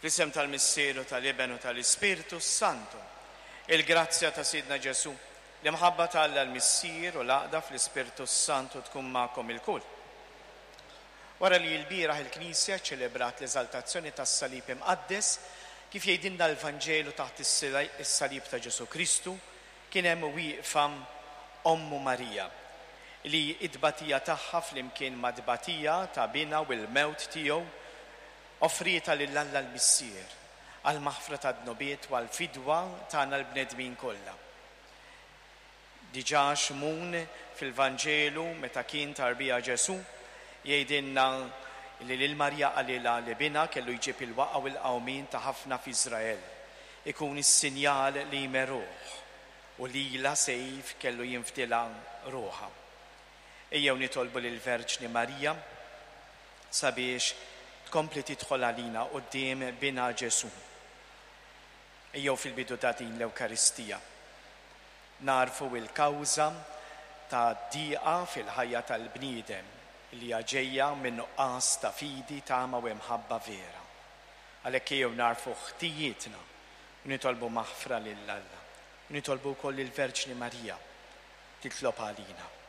Fl-isem tal-Missier u tal-Iben u tal-Ispirtu s-Santu. Il-grazzja ta' Sidna Ġesù, l-imħabba ta' Alla l-Missier u l-għaqda fl-Ispirtu s-Santu tkun magħkom ilkoll. Wara li lbieraħ il-Knisja ċċelebrat l-eżaltazzjoni tas-Salib Imqaddes, kif jgħidilna l-Vanġelu taħt is-Salib ta' Ġesù Kristu, kien hemm wieqfa Ommu Marija, li t-tbatija tagħha flimkien mat-tbatija ta' Binha u l-mewt tiegħu, offrietha lil Alla l-Missier għall-maħfra tad-dnubiet u għall-fidwa tagħna l-bnedmin kollha. Diġà Xmun fil-Vanġelu meta kien tarbija Ġesù, jgħidilna li lil Marija qalilha li binha kellu jġib il-waqgħa u l-qawmien ta' ħafna f'Iżrael, ikun is-sinjal li jmeruh, u lilha sejf kellu jinfdilha ruħha. Ejjew nitolbu lill-Verġni Marija sabiex tkompli tidħol għalina quddiem binha Ġesù. Ejjew fil-bidu ta' din l-Ewkaristija nagħrfu l-kawża ta' diqa fil-ħajja tal-bniedem li hija ġejja min-nuqqas ta' fidi, tama u imħabba vera. Għalhekk ejjew nagħrfu ħtijietna u nitolbu maħfra lil Alla. U nitolbu wkoll lill-Verġni Marija titlob għalina.